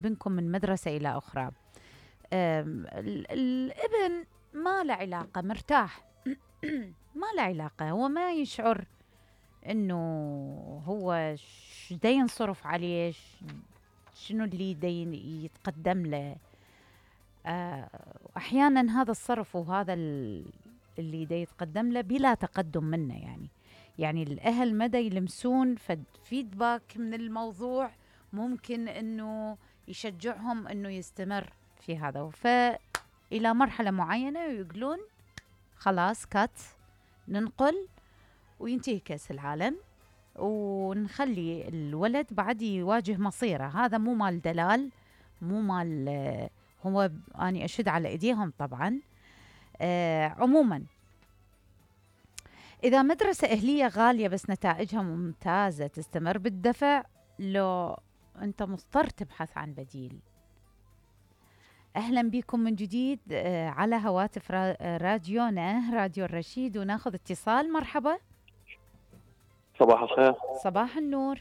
بنكم من مدرسة إلى أخرى. الابن ما له علاقة، مرتاح. ما له علاقة، هو ما يشعر إنه هو دا ينصرف عليه، شنو اللي دا يتقدم له. أحيانا هذا الصرف وهذا اللي دا يتقدم له بلا تقدم منه، يعني الأهل مدى يلمسون فيدباك من الموضوع ممكن إنه يشجعهم إنه يستمر في هذا، فإلى مرحلة معينة يقولون خلاص كات، ننقل وينتهي كأس العالم ونخلي الولد بعد يواجه مصيره. هذا مو مال دلال، مو مال هو أني أشد على إيديهم طبعا. عموما إذا مدرسة أهلية غالية بس نتائجها ممتازة، تستمر بالدفع لو أنت مضطر تبحث عن بديل. أهلا بكم من جديد على هواتف راديونا، راديو الرشيد، وناخذ اتصال. مرحبا. صباح الخير. صباح النور.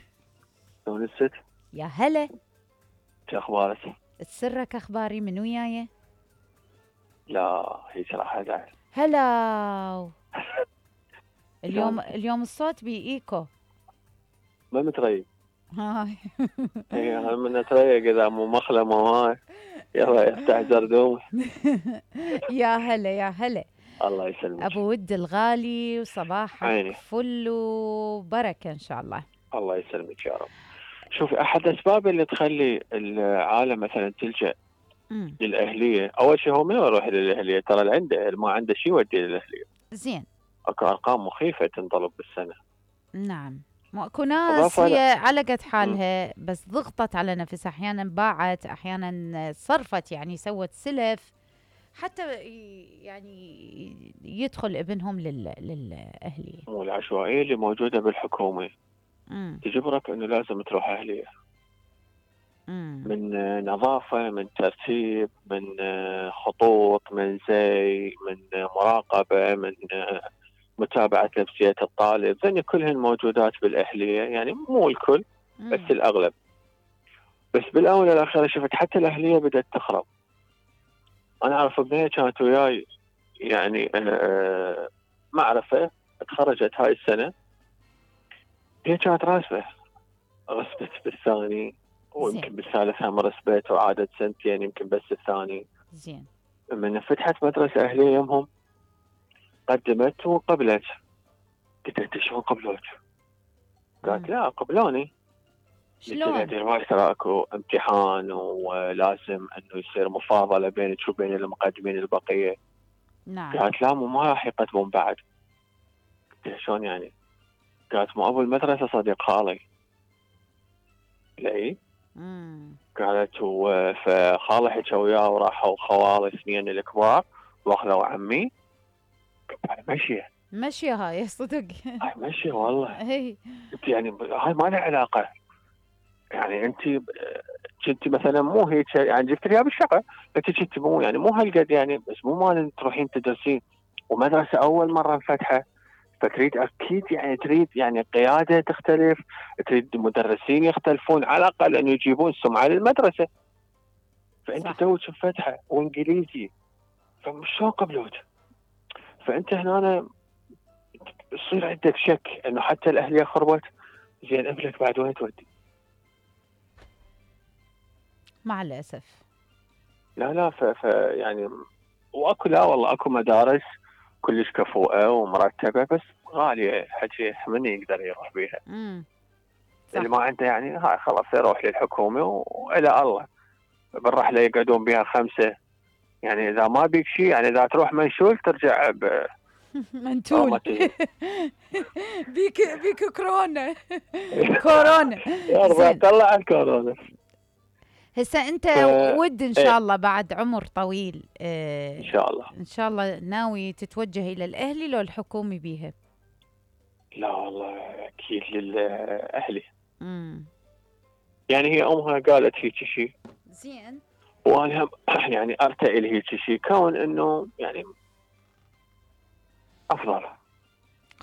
شلون الست؟ يا هلا. شو أخبارك؟ تسرك أخباري من وياي؟ لا هيك راح أزعل. هلا. اليوم الصوت بإيكو. ما متريق. هاي. اي من اتريق اذا مو مخلمه هاي. يلا يفتح زردوم. يا هلا يا هلا. الله يسلمك ابو ود الغالي، وصباحك عيني فل وبركه ان شاء الله. الله يسلمك يا رب. شوفي، احد الاسباب اللي تخلي العالم مثلا تلجأ للاهليه، اول شيء هو ما يروح للاهليه، ترى اللي عنده ما عنده شيء يودي للاهليه. زين. اكو ارقام مخيفه تنطلب بالسنه. نعم. اكو ناس هي على قد حالها بس ضغطت على نفسها، احيانا باعت، احيانا صرفت، يعني سوت سلف حتى يعني يدخل ابنهم للاهليه. والعشوائيه اللي موجوده بالحكومه تجبرك انه لازم تروح اهليه. من نظافه، من ترتيب، من خطوط، من زي، من مراقبه، من متابعة نفسية الطالب، ذني كلهن موجودات بالأهلية، يعني مو الكل بس الأغلب. بس بالآونة الأخيرة شفت حتى الأهلية بدأت تخرب. أنا أعرف ابنية كانت وياي، يعني معرفة، تخرجت هاي السنة، هي كانت راسبة، رسبت بالثاني ويمكن بالثالث هم رسبت، وعادت سنتين يمكن بس الثاني. زين. من فتحت مدرسة أهلية يمهم قدمت وقبلت. قلت انت شلون قبلوك؟ قالت لا قبلوني. شلون؟ ترى اكو امتحان ولازم انه يصير مفاضله بينك وبين المقدمين البقيه. نعم. قالت لا ما راح يقدمون بعد. قلت شلون يعني؟ قالت مو ابو المدرسه صديق خالي. لا قالت فخالي حكى وياه وراحوا خوالي اثنين الكبار واخذوا عمي. مشيه هاي صدق. هاي مشيه والله. هي يعني هاي ما لها علاقه. يعني انت كنت مثلا مو هيك، يعني جبت لي بالشقه، انت كنت مو يعني مو هالقد، يعني بس مو مال تروحين تدرسين ومدرسه اول مره انفتحه، فتريد اكيد يعني تريد يعني قياده تختلف، تريد مدرسين يختلفون على الاقل انه يجيبون سمعه للمدرسه. فانت توك مفتحه وانجليزي، فشلون قبلوك؟ فانت هنا يصير عندك شك انه حتى الاهليه خربت. زين ابنك بعد وين تودي؟ مع الأسف. لا يعني واكو، لا والله اكو مدارس كلش كفؤه ومرتبه بس غاليه، حكي من يقدر يروح بيها. اللي ما عنده يعني هاي خلاص يروح للحكومه والى الله. بالرحله يقعدون بها 5، يعني اذا ما بيك شيء، يعني اذا تروح منشول ترجع منتول. بيك كورونا. كورونا. يا طلع الكورونا. هسه انت ود ان شاء الله بعد عمر طويل ان شاء الله، ان شاء الله ناوي تتوجه الى الاهلي لو الحكومي بيها؟ لا والله اكيد للاهلي. يعني هي امها قالت هيك شيء. زين. وانا يعني ارتئي لهيك شيء، كون انه يعني افضل.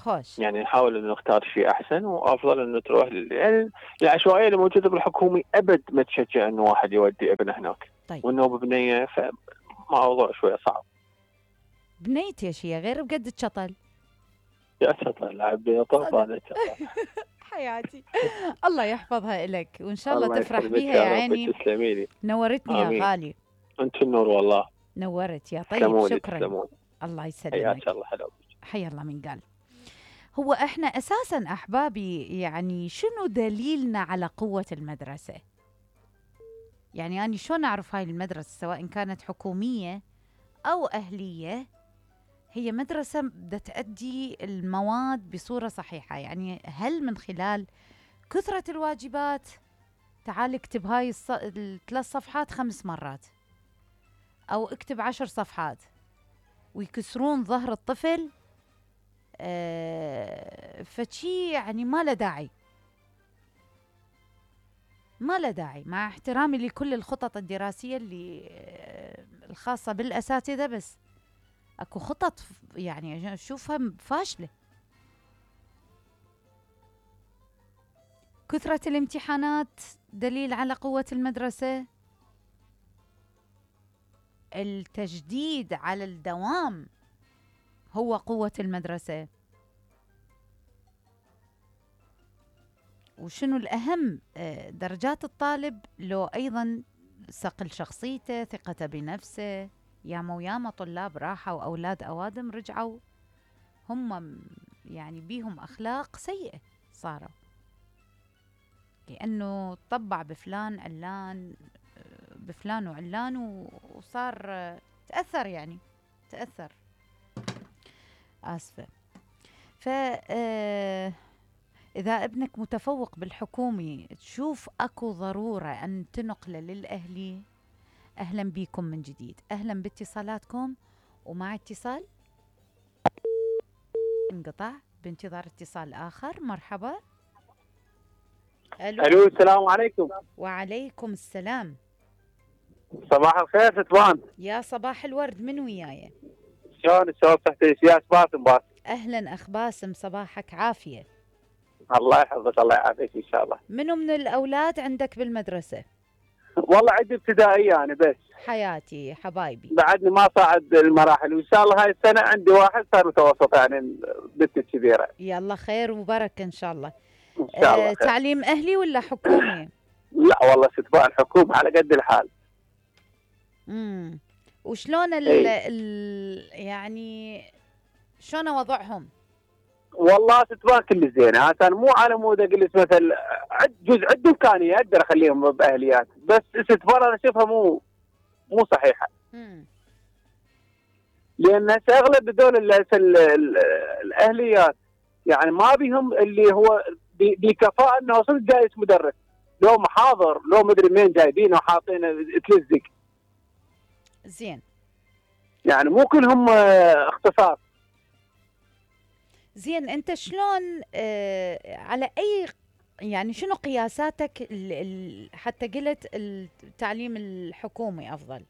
خوش. يعني نحاول انه نختار شيء احسن، وافضل انه تروح يعني العشوائيه اللي موجوده بالحكومي ابد ما تشجع انه واحد يودي ابنه هناك. طيب. وانه ببنيه فموضوع شويه صعب. بنيتي اشياء غير بقد الشطل. يا شطر لعب طوف هذا حياتي. الله يحفظها لك، وان شاء الله تفرح يسلمك بيها يا يا رب، عيني. تسلمي لي. نورتني آمين. يا غالي. انت النور والله. نورت يا طيب. تسلموني شكرا. تسلموني. الله يسلمك. حياك الله. حلو. حيا الله من قال. هو احنا اساسا احبابي يعني شنو دليلنا على قوة المدرسة؟ يعني أنا شلون أعرف هاي المدرسة سواء كانت حكومية أو أهلية هي مدرسة بدها تأدي المواد بصورة صحيحة؟ يعني هل من خلال كثرة الواجبات، تعال اكتب هاي الثلاث صفحات 5 مرات، أو اكتب 10 صفحات، ويكسرون ظهر الطفل، فشي يعني ما له داعي. ما له داعي، مع احترامي لكل الخطط الدراسية اللي الخاصة بالأساتذة، بس اكو خطط يعني اشوفها فاشلة. كثرة الامتحانات دليل على قوة المدرسة. التجديد على الدوام هو قوة المدرسة. وشنو الأهم؟ درجات الطالب، لو أيضا صقل شخصيته، ثقته بنفسه. ياما طلاب راحوا وأولاد أوادم رجعوا هم يعني بيهم أخلاق سيئة صاروا، لأنه طبع بفلان علان، بفلان وعلان، وصار تأثر، يعني تأثر. آسفة. إذا ابنك متفوق بالحكومي تشوف أكو ضرورة أن تنقله للأهلي، أهلا بكم من جديد، أهلا باتصالاتكم. ومع اتصال انقطع، بانتظار اتصال آخر. مرحبا. ألو السلام عليكم. وعليكم السلام. صباح الخير ستوان. يا صباح الورد، من وياي؟ شلون الشباب تحت سياس باسم أهلا أخ باسم، صباحك عافية. الله يحفظك الله يعافيك إن شاء الله. منو من الأولاد عندك بالمدرسة؟ والله عندي ابتدائية أنا بس. حياتي حبايبي. بعدني ما صعد المراحل، وإن شاء الله هاي السنة عندي واحد صار متوسط، يعني بنت كبيرة. يلا خير وبركة إن شاء الله. إن شاء الله خير. تعليم أهلي ولا حكومي؟ لا والله ستوان حكومة على قد الحال. وشلون يعني شلون وضعهم؟ والله ستوان كل زين، هذا مو على مود اقول لك مثل جزء عندي امكانيه اقدر اخليهم باهليات، بس ستوان انا اشوفها مو صحيحه. لان هسه اغلب هذول الاهليات يعني ما بيهم اللي هو بكفاءه انه صدق جايز مدرس، لو محاضر لو مدري مين جايبينه وحاطينه تلزق. زين. يعني مو كلهم اختصاص. زين، انت شلون على اي يعني شنو قياساتك حتى قلت التعليم الحكومي افضل؟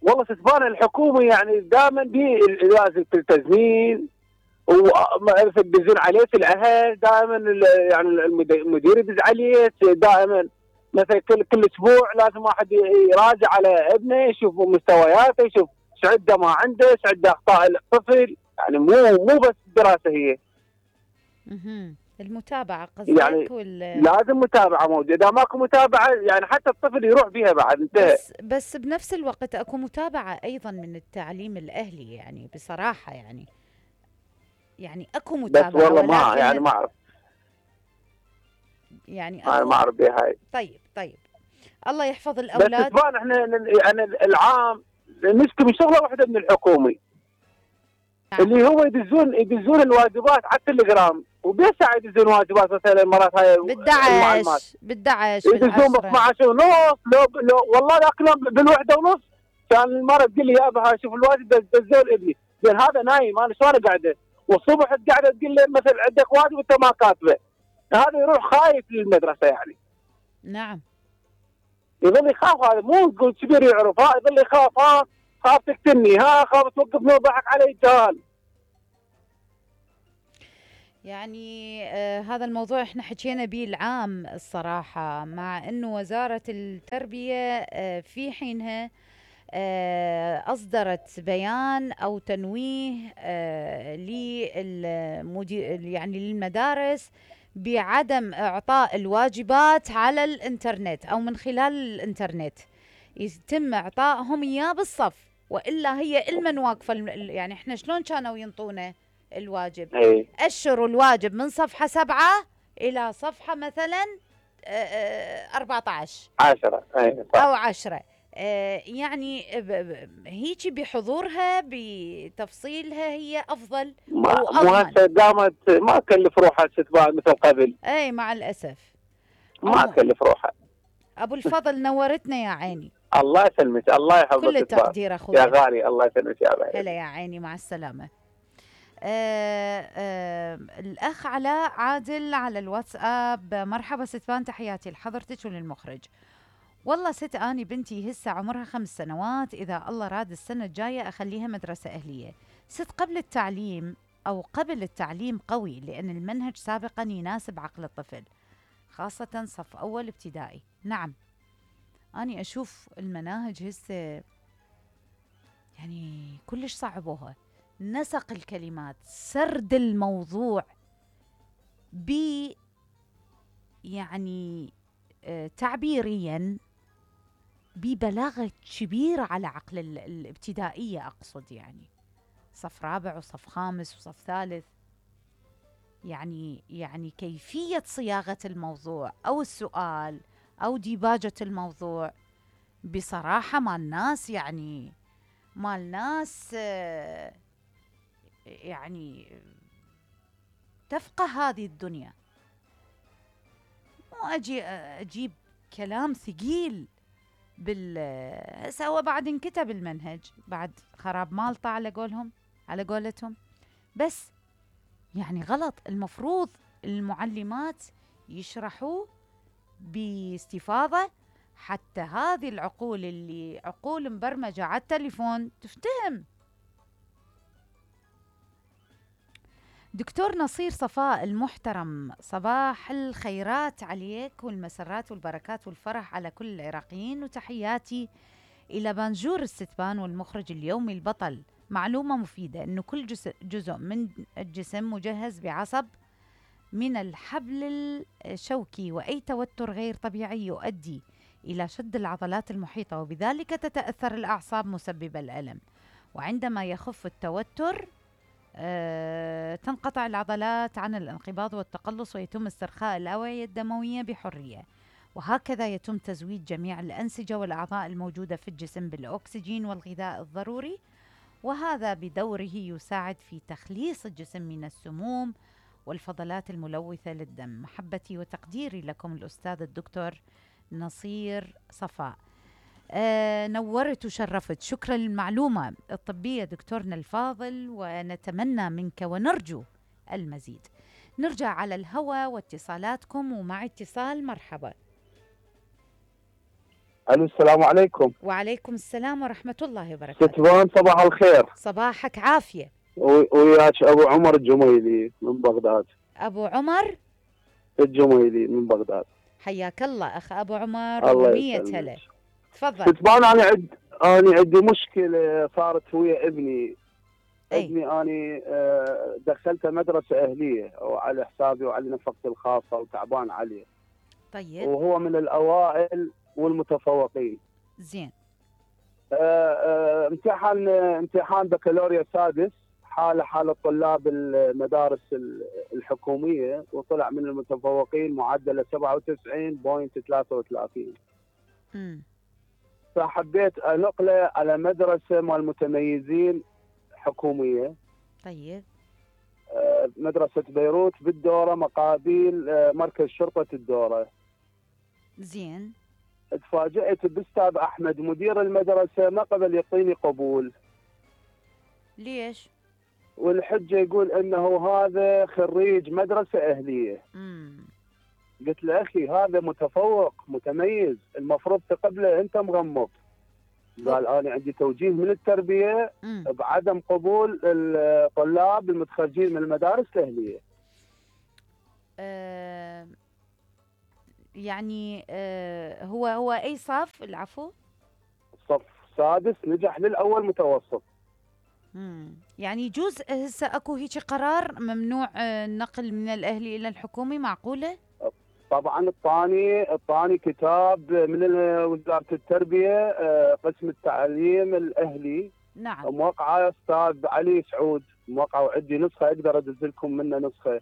والله ستبان الحكومي يعني دائما لازم التزمين ويدزون عليه الاهل دائما، يعني المدير يدز عليه دائما، مثلا كل اسبوع لازم واحد يراجع على ابنه يشوف مستوياته، يشوف ايش عنده ما عنده، ايش عنده اخطاء الطفل، يعني مو بس الدراسه هي. المتابعه قصدك يعني لازم متابعه موجوده، اذا ماكو متابعه يعني حتى الطفل يروح بيها بعد انتهى. بس بنفس الوقت اكو متابعه ايضا من التعليم الاهلي، يعني بصراحه يعني اكو متابعه، بس والله ما يعني ما اعرف، يعني انا ما اعرف بها هاي. طيب الله يحفظ الاولاد. بس احنا يعني العام نشكي من شغله واحده من الحكومي اللي هو يدزون الواجبات على التليجرام، وبيش ساعه يدزون واجبات مثلا مرات هاي بالدعش يدزون ب 12 ونص، لو والله ذاك اليوم بالوحده ونص كان المره تقول لي يابا شوف الواجب دزوا لابني، زين هذا نايم انا شلون قاعده، والصبح قاعده تقول لي مثلا عندك واجب انت ما كاتبه، هذا يروح خايف للمدرسه يعني. نعم. يظل يخاف، هذا مو تقول كبير يعرف، يظل يخاف، خاف تقتلني، خاف توقفني وضحك علي الجهال. يعني هذا الموضوع احنا حكينا به العام الصراحة، مع انه وزارة التربية في حينها أصدرت بيان أو تنويه للمدير يعني للمدارس بعدم إعطاء الواجبات على الإنترنت أو من خلال الإنترنت، يتم إعطائهم إياه بالصف، وإلا هي إلمن واقفة يعني إحنا شلون كانوا ينطونا الواجب؟ اي أشروا الواجب من صفحة 7 إلى صفحة مثلا 14 10 اي صح. أو 10. يعني هيجي بحضورها بتفصيلها هي أفضل أو مو أضمن. هسه قامت ما تكلف روحها ستباع مثل قبل، أي مع الأسف. ما تكلف روحها. أبو الفضل نورتنا يا عيني. الله يسلمك، الله يحفظك. كل التقدير أخوي. يا غالي الله يسلمك يا بعيد. هلا يا عيني، مع السلامة. الأخ علاء عادل على الواتساب: مرحبا ستبان، تحياتي لحضرتك وللمخرج. والله ست أني بنتي هسه عمرها 5 سنوات، إذا الله راد السنة الجاية أخليها مدرسة أهلية. ست قبل التعليم أو قبل التعليم قوي، لأن المنهج سابقا يناسب عقل الطفل، خاصة صف أول ابتدائي. نعم، أني أشوف المناهج هسه يعني كلش صعبوها، نسق الكلمات، سرد الموضوع ب يعني تعبيريا ببلاغة كبيرة على عقل الابتدائية، أقصد يعني صف رابع وصف خامس وصف ثالث. يعني كيفية صياغة الموضوع أو السؤال أو ديباجة الموضوع بصراحة مال ناس يعني تفقه هذه الدنيا. مو أجيب كلام ثقيل هسه بعد انكتب المنهج بعد خراب مالطة على قولتهم، بس يعني غلط. المفروض المعلمات يشرحوا باستفاضة حتى هذه العقول اللي عقول مبرمجة على التليفون تفتهم. دكتور نصير صفاء المحترم: صباح الخيرات عليك والمسرات والبركات والفرح على كل العراقيين، وتحياتي إلى بانجور الستبان والمخرج اليومي البطل. معلومة مفيدة أنه كل جزء من الجسم مجهز بعصب من الحبل الشوكي، وأي توتر غير طبيعي يؤدي إلى شد العضلات المحيطة، وبذلك تتأثر الأعصاب مسببة الألم. وعندما يخف التوتر تنقطع العضلات عن الانقباض والتقلص، ويتم استرخاء الأوعية الدموية بحرية. وهكذا يتم تزويد جميع الأنسجة والأعضاء الموجودة في الجسم بالأكسجين والغذاء الضروري، وهذا بدوره يساعد في تخليص الجسم من السموم والفضلات الملوثة للدم. محبتي وتقديري لكم الأستاذ الدكتور نصير صفاء. نورت وشرفت. شكرا للمعلومة الطبية دكتورنا الفاضل، ونتمنى منك ونرجو المزيد. نرجع على الهواء واتصالاتكم، ومع اتصال. مرحبا. الو، السلام عليكم. وعليكم السلام ورحمة الله وبركاته. ستبان صباح الخير. صباحك عافية. وياك ابو عمر الجميلي من بغداد. أبو عمر الجميلي من بغداد. حياك الله أخ أبو عمر، ومية هلا. تفضل. ستبان أنا عندي مشكلة صارت ويا ابني. ابني دخلته مدرسة أهلية وعلى حسابي وعلى نفقتي الخاصة وتعبان عليه. طيب. وهو من الأوائل والمتفوقين. زين. امتحان بكالوريا سادس حال طلاب المدارس الحكومية، وطلع من المتفوقين معدله 97.33. فحبيت انقله على مدرسة مال متميزين حكومية. طيب. مدرسة بيروت بالدورة مقابل مركز شرطة الدورة. زين. اتفاجأت باستاذ احمد مدير المدرسة ما قبل يعطيني قبول. ليش؟ والحجة يقول انه هذا خريج مدرسة اهلية. قلت له اخي هذا متفوق متميز، المفروض تقبله، انت مغمض. قال انا عندي توجيه من التربية بعدم قبول الطلاب المتخرجين من المدارس الاهلية. آه يعني هو أي صف؟ العفو. صف سادس نجح للأول متوسط. يعني يجوز هسه اكو هيك قرار ممنوع النقل من الأهلي إلى الحكومي، معقولة؟ طبعا الطاني كتاب من وزارة التربية، قسم التعليم الأهلي. نعم. موقعة أستاذ علي سعود، موقعة، وعندي نسخة أقدر أدز لكم منه نسخة.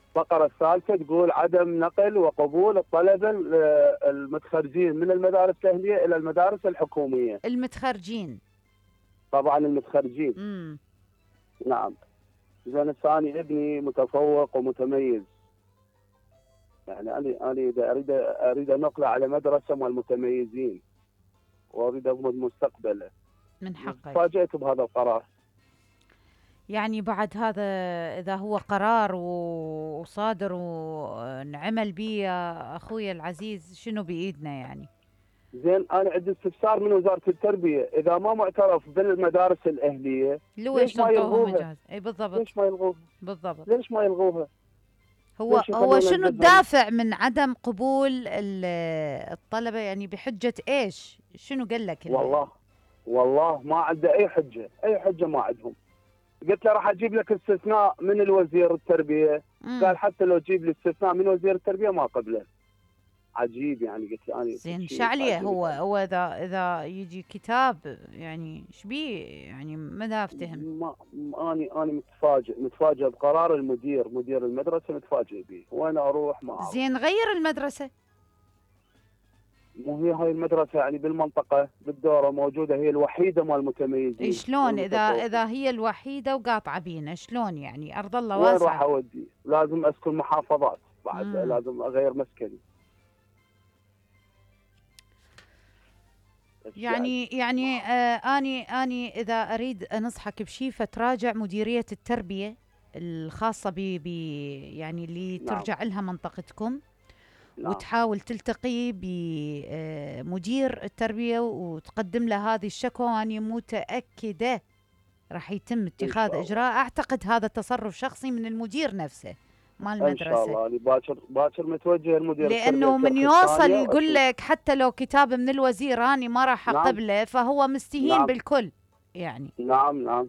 الفقرة الثالثة تقول عدم نقل وقبول الطلبة المتخرجين من المدارس الأهلية إلى المدارس الحكومية. المتخرجين. طبعا المتخرجين. نعم. زين الثاني ابني متفوق ومتميز، يعني أنا إذا أريد نقله على مدرسة مال المتميزين وأريد أضمن مستقبله. من حقك. تفاجأت بهذا القرار. يعني بعد هذا إذا هو قرار وصادر ونعمل به يا أخوي العزيز، شنو بإيدنا يعني؟ زين أنا عندي استفسار من وزارة التربية، إذا ما معترف بالمدارس الأهلية ليش ما يلغوها؟ أي بالضبط. ليش ما يلغوها؟ بالضبط. ليش ما يلغوها؟ هو شنو الدافع من عدم قبول الطلبة يعني؟ بحجة إيش؟ شنو قال لك؟ والله ما عنده أي حجة ما عندهم. قلت له راح أجيب لك استثناء من الوزير التربية. قال حتى لو تجيب لي استثناء من وزير التربية ما قبله. عجيب يعني. قلت له أنا زين شعليه هو إذا يجي كتاب يعني ايش بيه يعني؟ ما افتهم. أنا متفاجئ بقرار مدير المدرسة، متفاجئ به. وين أروح ما أعرف. زين غير المدرسة. مو هي هاي المدرسة يعني بالمنطقة بالدورة موجودة، هي الوحيدة مال المتميزين. شلون إذا هي الوحيدة وقاطعة بينا؟ شلون يعني؟ أرض الله واسعة. وين راح أودي؟ لازم أسكن محافظات بعد. لازم أغير مسكني. يعني أني إذا أريد أنصحك بشيء فتراجع مديرية التربية الخاصة يعني اللي ترجع لها منطقتكم. وتحاول تلتقي بمدير التربية وتقدم له هذه الشكوى، وأنا متأكدة راح يتم اتخاذ إجراء. أعتقد هذا تصرف شخصي من المدير نفسه مال المدرسة. إن شاء الله باكر متوجه المدير، لأنه من يوصل يقول لك حتى لو كتاب من الوزير أنا ما راح أقبله، فهو مستهين بالكل يعني. نعم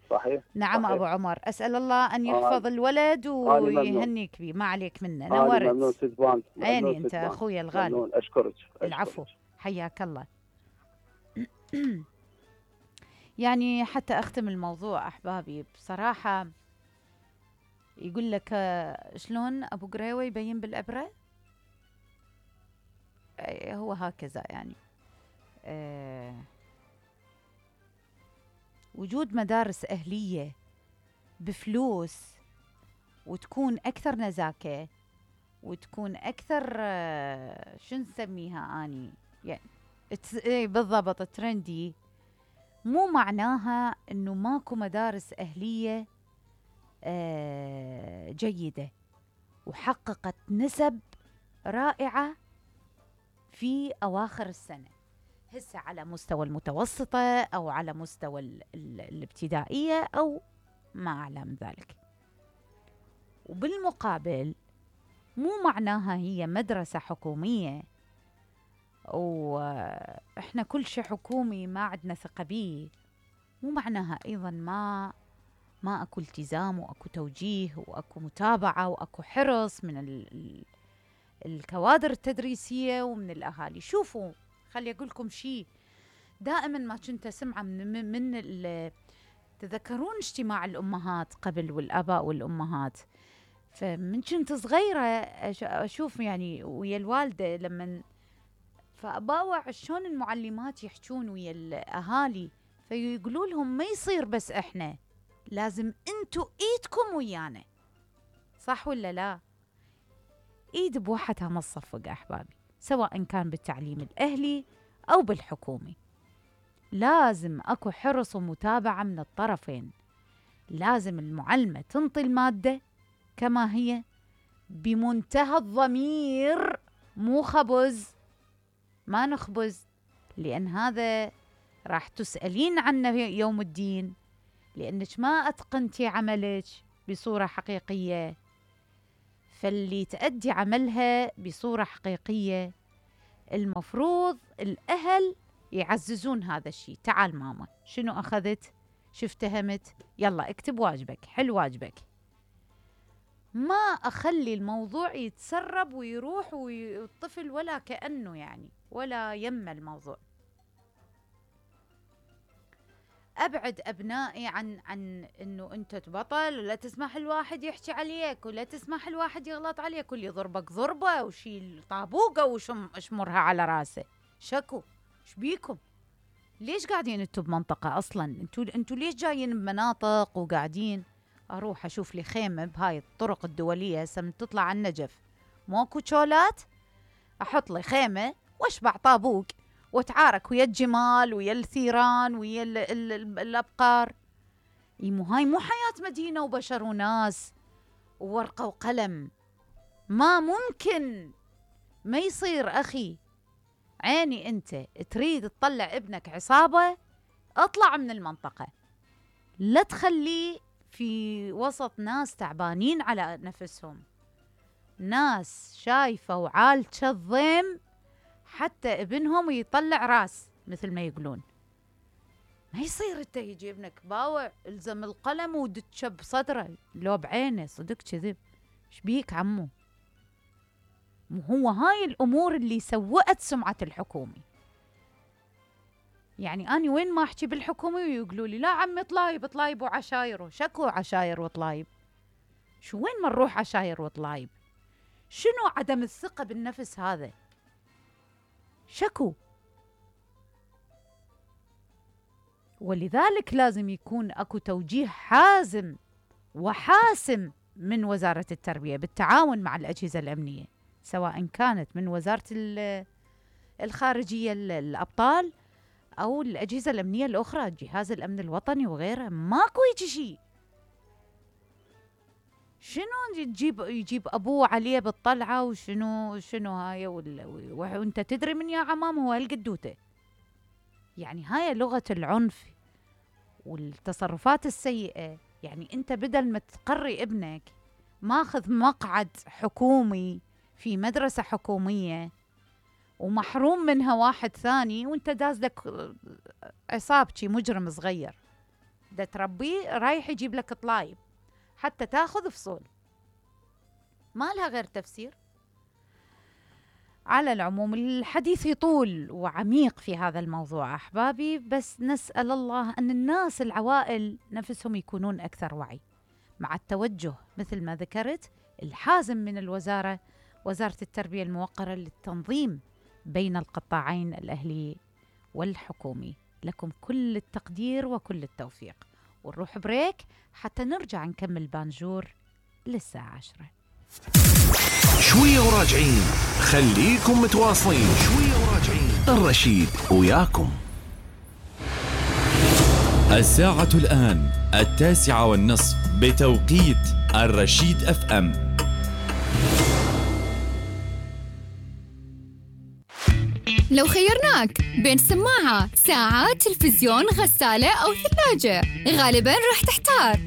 صحيح. نعم صحيح. أبو عمر، أسأل الله أن يحفظ الولد ويهنيك به. ما عليك منه. نورت. ممنون سيدبان. عيني أنت أخوي الغالي. ممنون. أشكرك. العفو. حياك الله. يعني حتى أختم الموضوع أحبابي بصراحة، يقول لك شلون أبو قريوة يبين بالإبرة؟ هو هكذا يعني. وجود مدارس أهلية بفلوس وتكون أكثر نزاكة وتكون أكثر شو نسميها أني يعني بالضبط ترندي، مو معناها أنه ماكو مدارس أهلية جيدة وحققت نسب رائعة في أواخر السنة، هسه على مستوى المتوسطة أو على مستوى الابتدائية أو ما أعلى من ذلك. وبالمقابل مو معناها هي مدرسة حكومية وإحنا كل شيء حكومي ما عندنا ثقة بيه، مو معناها أيضا ما أكو التزام وأكو توجيه وأكو متابعة وأكو حرص من الكوادر التدريسية ومن الأهالي. شوفوا خلي أقول لكم شيء، دائما ما كنت أسمع من تذكرون اجتماع الأمهات قبل والآباء والأمهات، فمن كنت صغيرة أشوف يعني ويا الوالدة لما فأباوع شلون المعلمات يحجون ويا الأهالي، فيقولوا لهم ما يصير بس إحنا، لازم أنتوا إيدكم ويانا. صح ولا لا؟ إيد بوحدها ما تصفق أحبابي، سواء كان بالتعليم الأهلي أو بالحكومي. لازم أكو حرص ومتابعة من الطرفين. لازم المعلمة تنطي المادة كما هي بمنتهى الضمير، مو خبز، ما نخبز، لأن هذا راح تسألين عنه يوم الدين، لأنك ما أتقنتي عملك بصورة حقيقية، فاللي تأدي عملها بصورة حقيقية المفروض الأهل يعززون هذا الشيء. تعال ماما، شنو أخذت؟ شو افتهمت؟ يلا اكتب واجبك، حل واجبك. ما أخلي الموضوع يتسرب ويروح والطفل ولا كأنه يعني ولا يم الموضوع. أبعد أبنائي عن إنه أنت تبطل، ولا تسمح الواحد يحكي عليك، ولا تسمح الواحد يغلط عليك، واللي يضربك ضربة وشيل طابوقة وشمرها على راسه. شكو إيش بيكم؟ ليش قاعدين انتوا بمنطقة أصلاً؟ انتوا ليش جايين بمناطق وقاعدين؟ أروح أشوف لي خيمة بهاي الطرق الدولية هسه من تطلع على النجف، موكو شولات، أحط لي خيمة وأشبع طابوق وأتعارك ويا الجمال ويا الثيران ويا الأبقار. هاي مو حياة مدينة وبشر وناس وورقة وقلم. ما ممكن، ما يصير أخي. عيني أنت تريد تطلع ابنك عصابة، اطلع من المنطقة، لا تخليه في وسط ناس تعبانين على نفسهم، ناس شايفة وعالشة الضيم حتى ابنهم يطلع راس مثل ما يقولون. ما يصير انت يجي ابنك باوع الزم القلم ودتشب صدره لو بعينه صدق كذب. ايش بيك عمو؟ هو هاي الأمور اللي سوأت سمعة الحكومي. يعني أنا وين ما أحكي بالحكومي ويقولوا لي لا عمي طلايب وعشاير. شكو عشاير وطلايب؟ شو وين ما نروح عشاير وطلايب؟ شنو عدم الثقة بالنفس هذا؟ شكو. ولذلك لازم يكون أكو توجيه حازم وحاسم من وزارة التربية بالتعاون مع الأجهزة الأمنية، سواء كانت من وزارة الخارجية الأبطال أو الأجهزة الأمنية الأخرى، جهاز الأمن الوطني وغيره. ماكو يجي شيء. شنو يجيب أبوه عليه بالطلعة وشنو هاي وانت تدري من يا عمام هو هالقدوته. يعني هاي لغة العنف والتصرفات السيئة. يعني انت بدل ما تقري ابنك ماخذ مقعد حكومي في مدرسة حكومية ومحروم منها واحد ثاني، وانت دازلك عصابتي مجرم صغير دا تربيه رايح يجيب لك طلايب حتى تاخذ فصول، ما لها غير تفسير. على العموم الحديث يطول وعميق في هذا الموضوع أحبابي، بس نسأل الله أن الناس العوائل نفسهم يكونون أكثر وعي مع التوجه مثل ما ذكرت الحازم من الوزارة، وزارة التربية الموقرة للتنظيم بين القطاعين الأهلي والحكومي. لكم كل التقدير وكل التوفيق، ونروح بريك حتى نرجع نكمل بانجور للساعة 10. شوية وراجعين، خليكم متواصلين. شوية وراجعين، الرشيد وياكم. الساعة الآن 9:30 بتوقيت الرشيد FM. لو خيرناك بين سماعة، ساعة، تلفزيون، غسالة أو ثلاجة، غالباً راح تحتار.